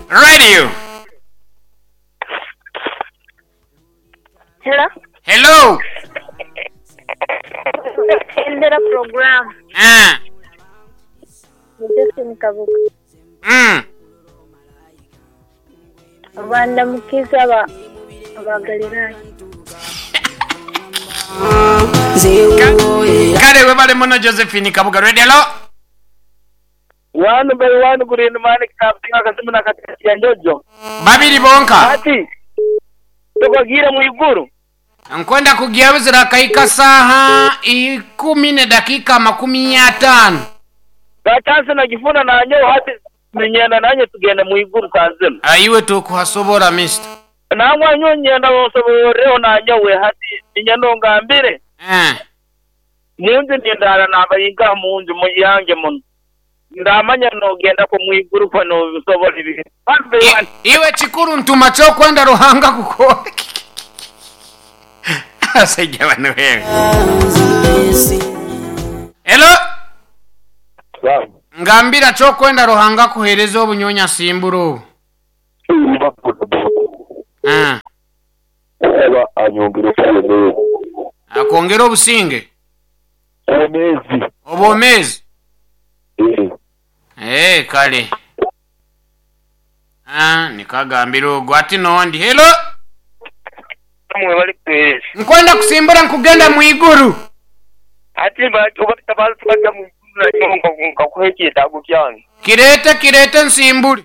Radio. Hello. Hello. Endera program. Ah. Ni Josephine Kabuga. Bandamukiza aba aba Galilaya. Kale webale muno Josephine Kabuga. Radio hello. One by one Green Man kapinga akasimu na katesi ya Njojo. Babiri bonka. Ati tukagira mu iguru. Nkwenda kugia buzira kaika saha 10:50. Gatanse na gifuna na nyo hati menyana nanye tugenda mu iguru kazima. Aiwe tukuhasobora mister. Nangwa nyo nyenda bosoboreho na nyowe hati nyendo ngambire. Munju ndindara nabayinga munju muyange muno. Ndamanya nogenda ko mu iguru ko no bisobora ibi. Iwe chikuru ntuma cyo kwenda Ruhanga kuko. Asajja bano wewe. Hello. Ngambira cyo kwenda Ruhanga kuhereza obunyonya simburo. Eba anyongere obumezi. Akongera obusinge. Obumezi. Obumezi. Kale. Nikagambira ogwo ati nondi. Hello. Mwe bali kuhereza. Nkwenda kusimbura nkugenda mu iguru. Ati bajya mu iguru nkakuha ekyetaago kyange. Kirete kirete nsimbure.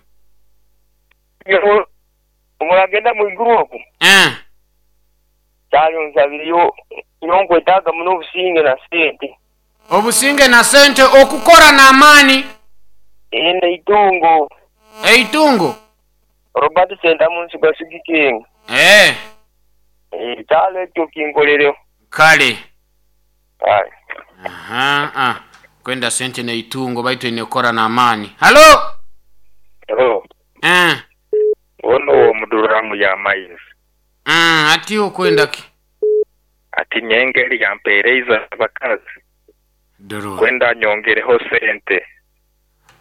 Omuragenda mu iguru okwo. Kyalonzabiriyo nkwetaaga muno obusinge na sente. Obusinge na sente okukora n'amaani. Eitungo. Eitungo. Robert Senta munsi gwa Sugiking. Kyalo ekyo kinkolereho. Kale. Aye. Aha. Kwenda sente na itungo baitu inekora na amani. Halo. Hello. Ono omuduramu ya maizi. Ati okwenda ki? Ati nyengeri yampeereza abakazi. Doro. Kwenda nyongereho sente.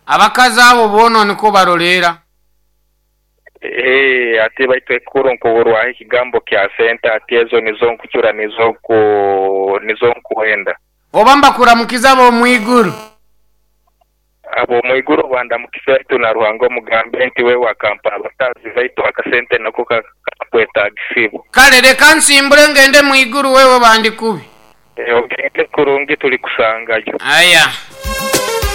Abakazi abo bono niko barolera. Ati baitu ekuru nkuburwaho ekigambo kya sente ati ezo nizo nkucura nizo nkuhenda. Oba mbakuramukiza abo mwiguru. Abo mwiguru bandamukiza baitu na Ruhanga omugambe nti we wakampa abakazi baitu akasente nako kakwetagisibu. Kale reka nsimbure ngende mwiguru wewe bandikubi. Ogende kurungi tuli kusangayo. Aya.